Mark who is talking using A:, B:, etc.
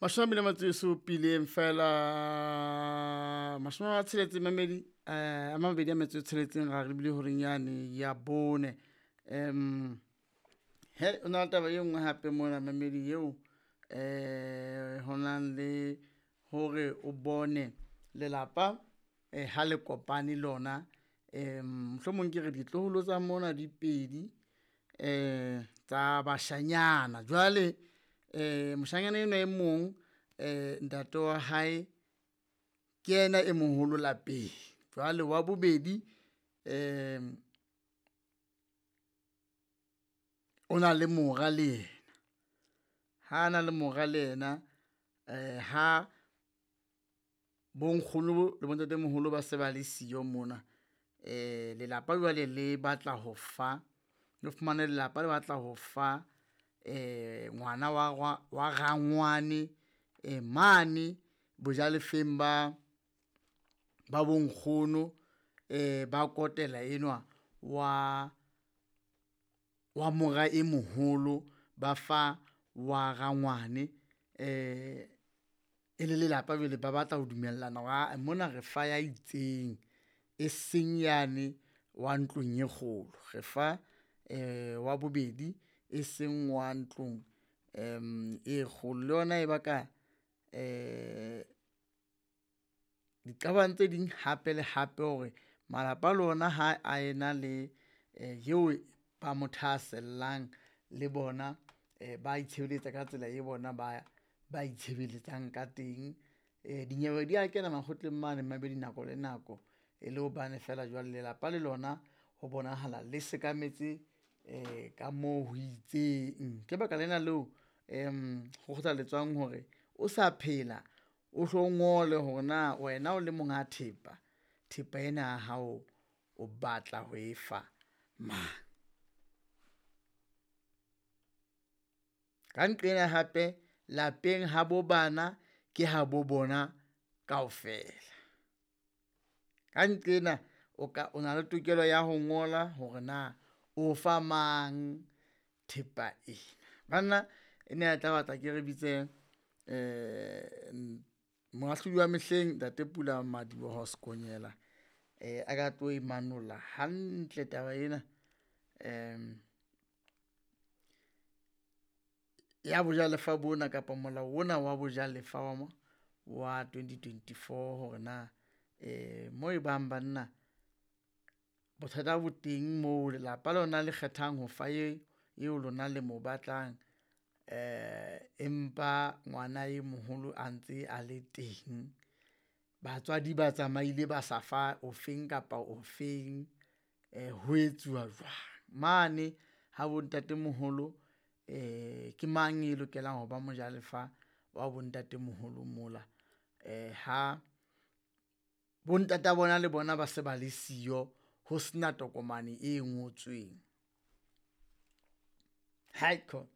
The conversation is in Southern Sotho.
A: 27 feela 60 mamedi a 26 ra re bile horeng yane ya bone. He o na le taba e nngwe hape mona mamedi eo ho nang le hore o bone lelapa ha le kopane lona. Mohlomong ke re ditloholo tsa mona di pedi tsa bashanyana. Jwale moshanyana enwa e mong ntate wa hae ke yena e moholo lapeng, jwale wa bobedi o na le mora le yena. Ha na le mora le yena ha bonkgono le bontatemoholo ba se ba le siyo mona, lelapa jwale le batla ho fa, o fumane lelapa le batla ho fa ngwana wa rangwane mane bojalefeng ba bonkgono ba kotela enwa wa mora e moholo, ba fa wa rangwane. E le lelapa jwale ba batla ho dumellana hore aa mona re fa ya itseng e seng yane wa ntlong e kgolo, re fa wa bobedi e seng wa ntlong e kgolo. Le yona e baka diqabang tse ding hape le hape hore malapa le ona ha a ena le eo ba mo thahasellang le bona ba itshebeletsa ka tsela e bona ba itshebeletsang ka teng. Dinyewe di a kena makgotleng mane mmamedi nako le nako e le hobane fela jwale lelapa le lona ho bonahala le sekametse ka moo ho itseng. Ke baka lena leo ho kgothaletswang hore o sa phela, o hlo ngole hore na wena o le monga thepa, thepa ena ya hao o batla ho e fa mang. Ka nqena hape lapeng ha bo bana ke ha bo bona kaofela. Ka nqena o na le tokelo ya ho ngola hore na o fa mang thepa ena. Banna ena e tla batla ke re bitse moahlodi wa mehleng ntate Pulamadiboho Sekonyela a ka tlo e manolla hantle taba ena ya bojalefa bona kapa molao ona wa bojalefa wa 2024 hore na mo e bang banna bothata bo teng moo lelapa lona le kgethang ho fa eo lona le mo batlang empa ngwana e moholo a ntse a le teng. Batswadi ba tsamaile ba sa fa ofeng kapa ofeng ho etsuwa jwang. Mane ha bontatemoholo ke mang e lokelang ho ba mojalefa wa bontatemoholo mola ha bontata bona le bona ba se ba le siyo ho sena tokomane e ngotsweng. Haikhona.